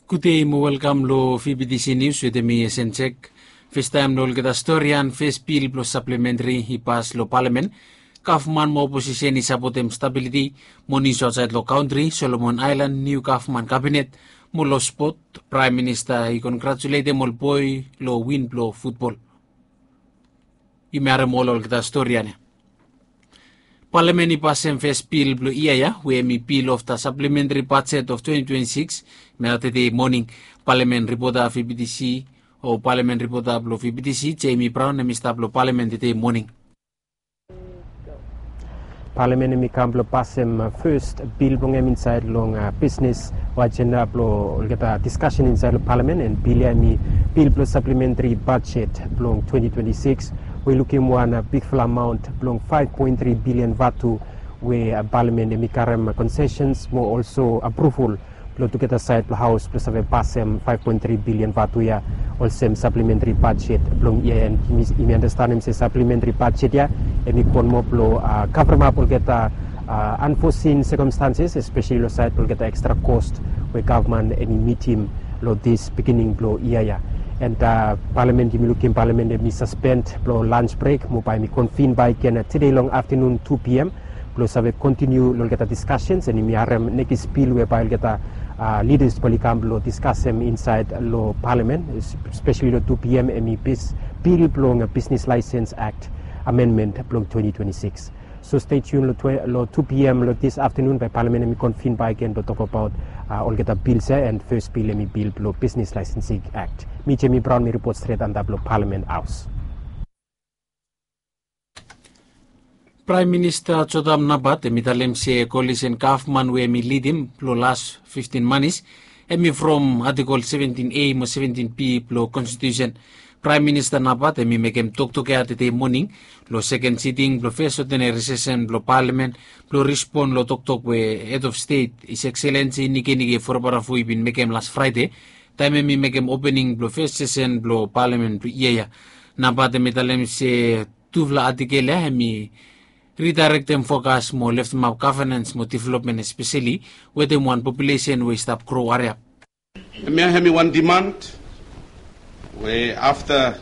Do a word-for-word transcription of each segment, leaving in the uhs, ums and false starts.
Gudei mo welkam long V B T C News wetem mi Esen Jek. Festaem long olgeta storian, fes bil blong saplementri i pas long palamen. Gavman mo oposisen i sapotem stabiliti mo nius aotsaed long kantri, Solomon Aelan niu gavman kabinet, mo long spot, Praem Minista i kongratuletem ol boe long win blong futbol. Yumi harem ol olgeta storian ya. Palamen i pasem fes bil blong yia ya, we hemi bil of da saplementri bajet of twenty twenty-six, mea tedei moning. Palamen ripota V B T C, o palamen ripota blong V B T C, Jamie Brown, hemi stap long palamen tedei moning. Palamen hemi kam blong pasem fes bil blong hem insaed long bisnes o ajenda blong olgeta diskasen insaed long palamen, and bil ya hemi bil blong saplementri bajet blong twenty twenty-six, we i lukim wan bigfala amaon blong five point three billion vatu, we palamen hemi karem konsesens mo olso apruval blong tugeta saed blong haos blong save pasem five point three billion vatu ya olsem saplementri bajet blong yia ya. And yumi andastanem se saplementri bajet ya hemi go nomo blong kavremap olgeta anfosin sekomstanses, espeseli long saed blong olgeta ekstra kos we gavman hemi mitim long dis bigining blong yia ya. And palamen, yumi lukim palamen hemi saspend blong lans brek mo bae hemi konvin bakegen tedei long aftanun tu P M blong save kontiniu long olgeta diskasens, and yumi harem nekis bil we bae olgeta lidas bae oli kam blong diskasem insaed long palamen, espeseli long tu P M, hemi bil blong Bisnes Laesens Akt amenmen blong twenty twenty-six. So stay tuned long two P M long dis aftanun bae palamen hemi konvin bakegen blong tokbaot olgeta bil ya, and fes bil hemi bil blong Bisnes Laesensing Akt. Mi Jamie Brown, mi ripot stret antap long palamen haos. Praem Minista Jotam Napat hemi talem se kolisen gavman we hemi lidim blong las fiftin manis hemi from Atikol seventin A mo seventin B blong Konstitusen. Praem Minista Napat hemi mekem toktok ya tedei moning long seken siting blong fes odeneri sesen blong palamen blong rispon long toktok we Hed of Stet His Excellency Nikenike Vurobaravu i bin mekem las Fraede, taem hemi mekem opening blong fes sesen blong palamen blong yia ya. Napat hemi talem se tufala atikel ya hemi ridaerektem fokas mo leftemap gavenans mo developmen, espeseli wetem wan populesen we i stap gro hariap. Hemia hemi wan diman we afta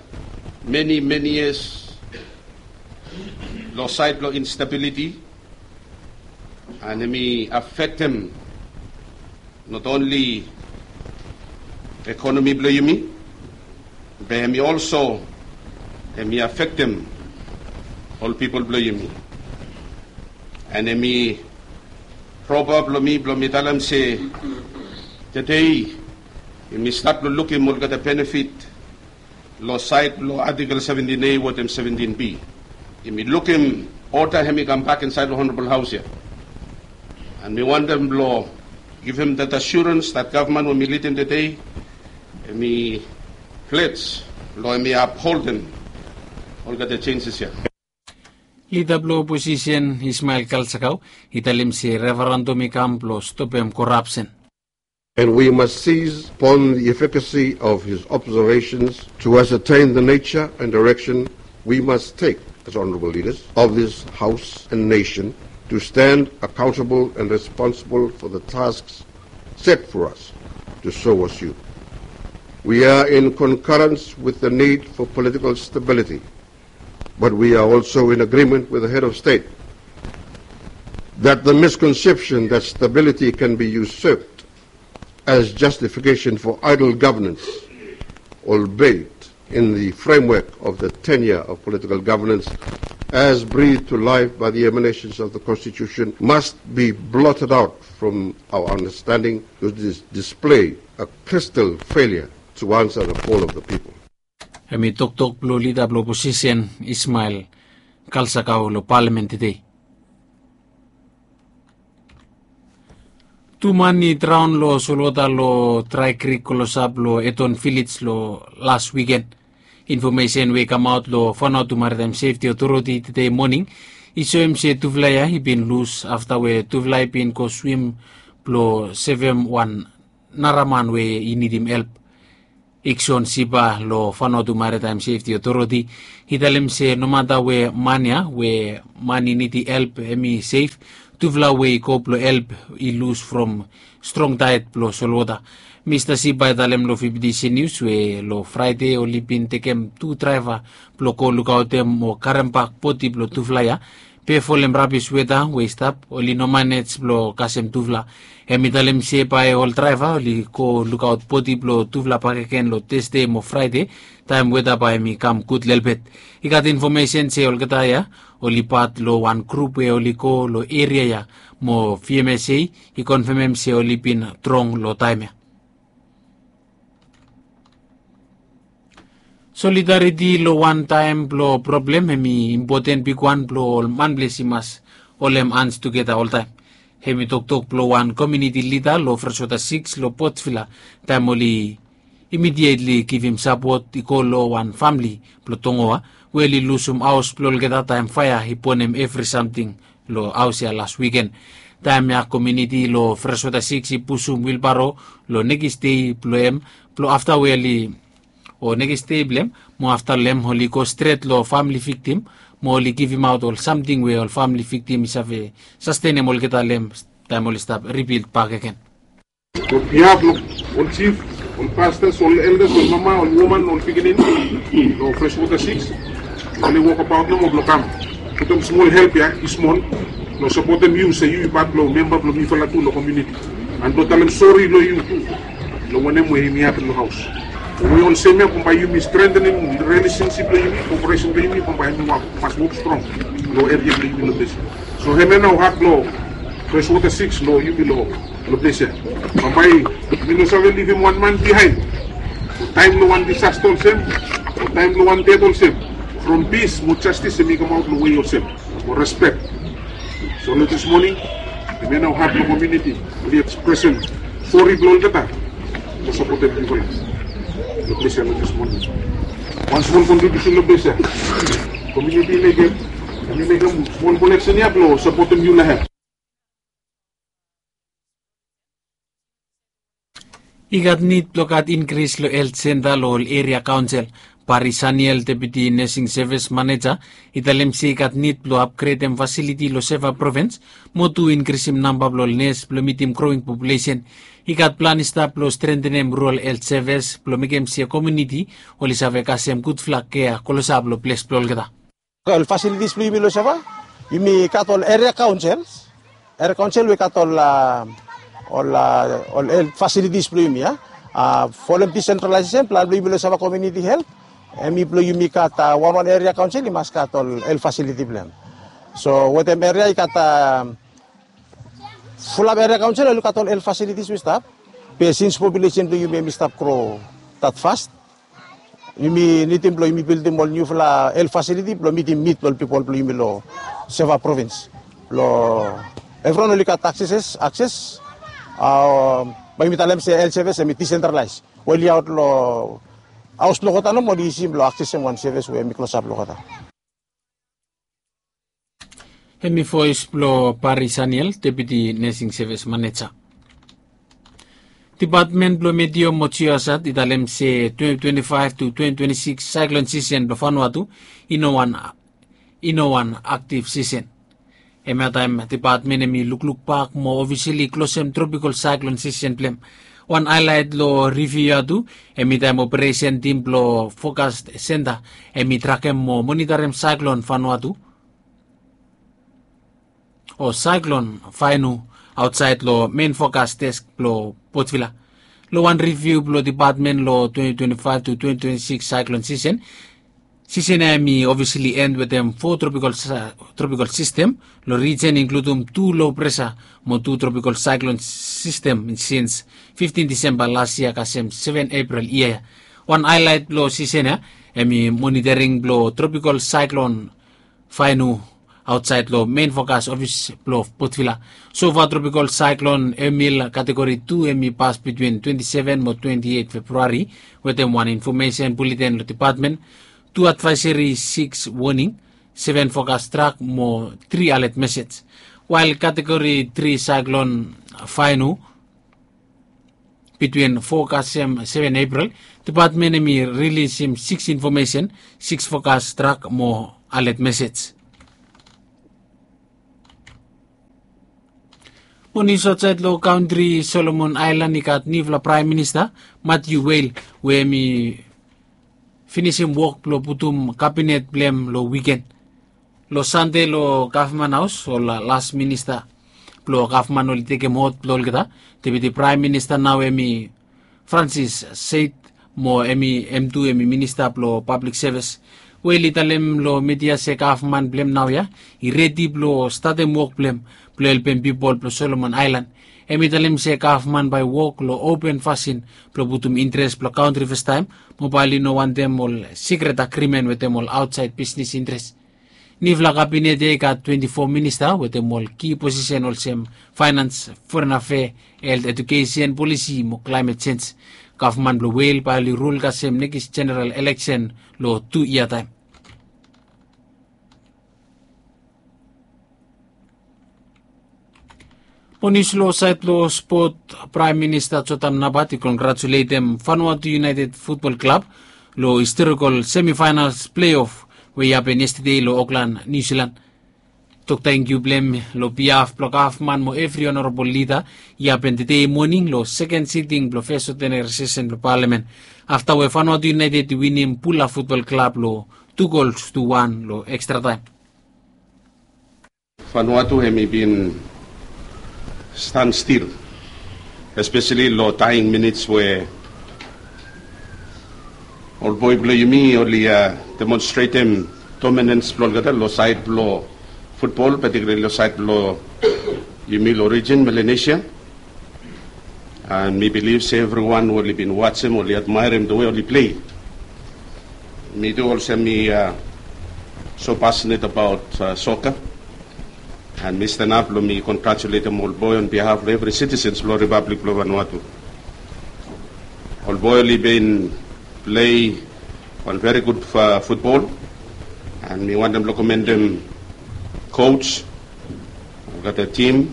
meni meni yias long saed blong instabiliti, and hemi afektem not only ekonomi blong yumi, be hemi olso hemi afektem ol pipol blong yumi. And hemi proba blong mi blong mi talem se tedei yumi stat blong lukim olgeta benefit long saed blong Atikol seventin A wetem seventin B. Yumi lukim oda hemi kambak insaed long Honorabol Haos ya. And mi wantem blong givim dat asurens dat gavman we mi lidim tedei hemi plej blong hemi apholdem olgeta jenjes ya. Lida blong oposisen Ismael Kalsakau i talem se referendum i kam blong stopem korapsen. And we must seize upon the efficacy of his observations to ascertain the nature and direction we must take as honorable leaders of this House and nation to stand accountable and responsible for the tasks set for us to so assume. We are in concurrence with the need for political stability, but we are also in agreement with the head of state that the misconception that stability can be usurped as justification for idle governance, albeit in the framework of the tenure of political governance as breathed to life by the emanations of the Constitution, must be blotted out from our understanding, because it is display a crystal failure to answer the call of the people. Hemi toktok blong lida blong oposisen Ismael Kalsakau long palamen tedei. Tu man i draon long solwota long drae krik klosap long Eton Vilej long las wiken. Infomesen we i kamaot long Vanuatu Maritime Safety Authority tedei moning i soem se tufala ya i bin lus afta we tufala i bin go swim blong sevem wan nara man we i nidim help. Ikson Sipa long Vanuatu Maritime Safety Authority i talem se nomata we man ya we man i nidi help hemi sef, tufala we i go blong help i lus from strong taed blong solwota. Mista Sipa i talem long fifti sin nius we long Fraede oli bin tekem tu draeva blong go lukaotem o karem bak bodi blong tufala ya. Be folem rabis weta we i stap, oli no manej blong kasem tufala. Hem i talem se bae ol draeva oli go lukaot bodi blong tufala bakegen long Tasde mo Fraede, taem weta bae hem i kam gud lelebet. I gat infomesen se olgeta ya oli pat long wan grup we oli go long eria ya, mo V M S A i konfemem se oli bin drong long taem ya. Solidariti long wan taem blong problem hem i impoten bigwan blong ol manples i mas holem hans tugeta oltaem. Hem i toktok blong wan komuniti lida long Freswota Sikis long Potvila, taem oli imedietli givim sapot i go long wan famle blong Tongoa we oli lusum haos blong olgeta taem faea i bonem evri samting long haos ya las wiken. Taem ya komuniti long Freswota Sikis i pusum wilbaro long nekis dei blong hem, blong afta we oli, o nekis dei blong hem mo afta long hem oli go stret long famle viktim mo oli givimaot ol samting we ol famle viktim i save sastenem olgeta long hem taem oli stap ribild bakegen. Long bihaf blong ol jif, ol pastas, ol eldas, ol mama, ol woman, ol pikinini long Freswota Sikis, oli wokabaot nomo blong kam putum smol help ya i smol blong sapotem yu se yu i pat blong memba blong mifala tu long komuniti. An blong talem sori long yu tu long wanem we yumi hapen long haos. We olsem ya bambae yumi strentenem rilesensip blong yumi, koperesen blong yumi bambae yumi mas wok strong long eria blong yumi long ples ya. So hemia nao hat blong Freswota Sikis long yumi long long ples ya. Bambae mi no save livim wan man bihaen long taem blong wan disasta olsem, long taem blong wan ded olsem. From pis mo jastis hem i kamaot long wei olsem mo respek. So long dis moning, hemia nao hat blong komuniti oli ekspresem sori blong olgeta blong sapotem yufala long ples ya long dis moning. Wan smol kontribiusen long ples ya. Komuniti i mekem, hem i mekem smol koleksen ya blong sapotem yufala hem. I gat nid blong gat inkris long helt senta long ol eria kaonsel. Bari Saniel, Deputi Nesing Sevis Maneja, i talem se i gat nid blong apgredem fasiliti long Seva provins mo tu inkrisim namba blong ol nes blong mitim groing populesen. I gat plan i stap blong strentenem rural helt sevis blong mekem se komuniti oli save kasem gudfala kea klosap long ples blong olgeta. Ol fasilitis blong yumi long Seva, yumi gat ol eria kaonsel, eria kaonsel we gat ol, a, ol, a, ol helt fasilitis blong yumi, a. A, folem disentralaesesen, plan blong yumi long Seva Komuniti Helt, hemi blong yumi gat, a, wanwan eria kaonsel i mas gat ol helt fasiliti blong hem. So wetem eria i gat, a, fulap eria kaonsel oli gat ol helt fasilitis we i stap. Be sins populesen blong yumi hemi stap gro dat fas, yumi nidim blong yumi bildim ol niufala helt fasiliti blong mitim nid blong ol pipol blong yumi long Seva provins. Blong evriwan oli gat akses, akses, a, bae yumi talem se helt sevis hemi disentralaes. We oli aot long haos blong olgeta nomo oli isi blong aksesem wan sevis we hemi klosap long olgeta. Hemi voes blong Bari Saniel, Deputi Nesing Sevis Maneja. Dipatmen blong Meteo mo Jiosat i talem se twenti twenti faef tu twenti twenti sikis saeklon sisen blong Vanuatu i no wan, i no wan aktiv sisen. Hemia taem dipatmen hemi lukluk bak mo ofisali klosem tropikol saeklon sisen blong hem. Wan haelaet long riviu ya tu, hemi taem operesen tim blong Fokas Senta hemi trakem mo monitarem saeklon Vanuatu o saeklon Vainu aotsaed long mein fokas desk blong Potvila. Long wan riviu blong dipatmen long twenti twenti faef tu twenti twenti sikis saeklon sisen, sisen ya hemi ofisali en wetem fo tropikol sa-, tropikol sistem long rijen, inkludum tu lo presa mo tu tropikol saeklon sistem sins fiftin Disemba las yia kasem seven Epril yia ya. Wan haelaet blong sisen ya hemi monitoring blong tropikol saeklon Vainu aotsaed long mein fokas ofis blong Potvila. Sofa tropikol saeklon Emil kategori tu hemi pas bitwin twenti seven mo twenti eit Februari wetem wan infomesen buleten long dipatmen, tu advaeseri, sikis woning, seven fokas trak mo tri alet mesej. Wael kategori tri saeklon Vainu bitwin fo kasem seven Epril, dipatmen hemi rilisim sikis infomesen, sikis fokas trak mo alet mesej. Mo nius aotsaed long kantri Solomon Aelan i gat niufala praem minista, Matthew Wale, we hem i finisim wok blong putum kabinet blong hem long wiken. Long Sande long gavman haos ol las minista blong gavman oli tekem hot blong olgeta. Deputi praem minista nao hem i Francis Said, mo hem i hem tu hem i minista blong pablik sevis. Wale i talem long midia se gavman blong hem naoia i redi blong statem wok blong hem blong helpem pipol blong Solomon Aelan. Hem i talem se gavman bae wok long open fasin blong putum interes blong kantri fastaem, mo bae oli no wantem ol sikret agrimen wetem ol aotsaed bisnis interes. Niufala kabinet ya i gat twenti fo minista wetem ol ki posisen olsem faenans, foren afea, helt, ejukesen, polisi mo klaemet jenj. Gavman blong Wale bae oli rul kasem nekis jeneral eleksen long tu yia taem. Mo nius long saed blong spot, Praem Minista Jotam Napat i kongratuletem Vanuatu United Futbol Klab long historikol semifaenals pleof we i hapen yestade long Oklan, Niu Silan. Tok tangkiu blong hem long bihaf blong gavman mo evri onorabol lida i hapen tede moning long seken siting blong fes odeneri sesen blong palamen, afta we Vanuatu United i winim Bula Futbol Klab long tu gols tu wan long ekstra taem. Vanuatu hem i bin stan stil, espeseli long daing minits we ol boe blong yumi oli demonstretem dominens blong olgeta long saed blong futbol, patikulali long saed blong yumi long rijin Melanesia. An mi bilif se evriwan oli bin wajem, oli admaerem the way oli plei. Mi tu olsem mi so pasenet abaot soka, an mi stanap blong mi kongratuletem ol boe on bihaf blong evri sitisens blong Ripablik blong Vanuatu. Ol boe oli bin plei wan veri gud futbol, an mi wantem blong komendem koj, olgeta tim,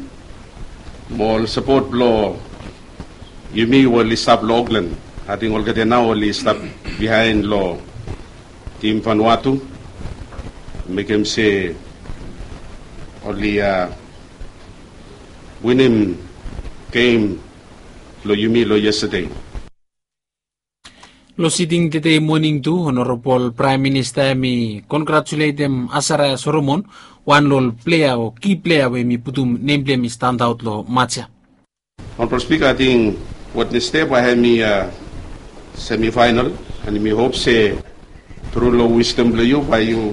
mo ol sapot blong yumi we oli stap long Oklan. Ating olgeta nao oli stap biaen long tim Vanuatu, mekem se oli winim gem blong yumi long yestade. Long siting tede moning tu, Onorabol Praem Minista hem i kongratuletem Asaraia Soromon, wan long ol plea o ki plea we hem i putum nem blong hem i standaot long maj ya. Onorabol Spika, ating Wednesde bae hem i semifaenal, an mi hop se tru long wisdom blong yu bae yu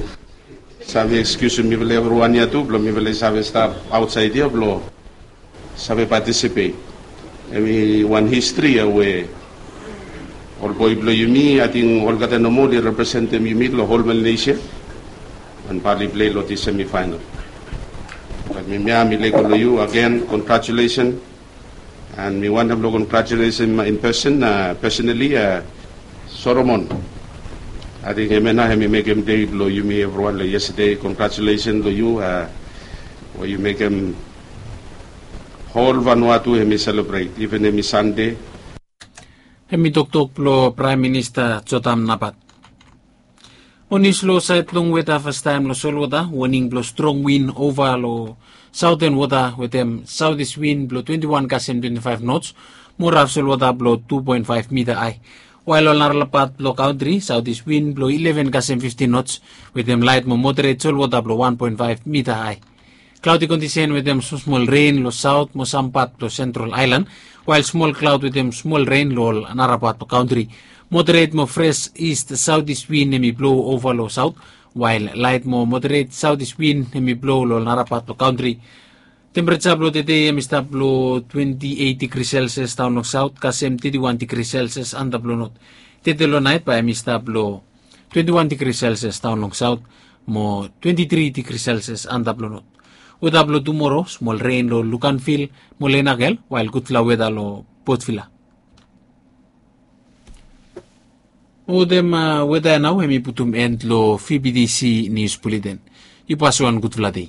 save ekskiusim mifala evriwan ya tu blong mifala i save stap aotsaed ya blong save patisipet. Hem i wan histri ya we ol boe blong yumi, ating olgeta nomo oli representem yumi long hol Melanesia, an bae oli plei long dis semifaenal. Bat mi mia mi lego long yu agen, kongratulesen. An mi wantem blong kongratuletem in pesen, pesenali, Soromon. Ating hemia nao hem i mekem dei blong yumi evriwan long yestade. Kongratulesen long yu we yu mekem hol Vanuatu hem i selebret, iven hem i Sande. Hem i toktok blong Praem Minista Jotam Napat. Mo nius long saed blong weta, fastaem long solwota, woning blong strong win ova long saoten wota wetem saotis win blong twenti wan kasem twenti faef nots, mo raf solwota blong tu poen faef mita ae. Wael long narala pat blong kantri, saotis win blong ileven kasem fiftin nots wetem laet mo moderet solwota blong wan poen faef mita ae. Klaodi kondisen wetem smosmol ren long saot mo sam pat blong sentral aelan, wael smol klaod wetem smol ren long ol nara pat blong kantri. Moderet mo fres ist saotis win hem i blo ova long saot, wael laet mo moderet saotis win hem i blo long ol nara pat blong kantri. Tempereja blong tede hem i stap long twenti eit digri selsias daon long saot kasem teti wan digri selsias antap long not. Tede long naet bae hem i stap long twenti wan digri selsias daon long saot mo twenti tri digri selsias antap long not. Weta blong tumoro, smol ren long Luganville mo Lenakel, wael gudfala weta long Port Vila. Mo wetem weta ya nao hem i putum en long V B T C nius buleten. Yu pasim wan gudfala dei.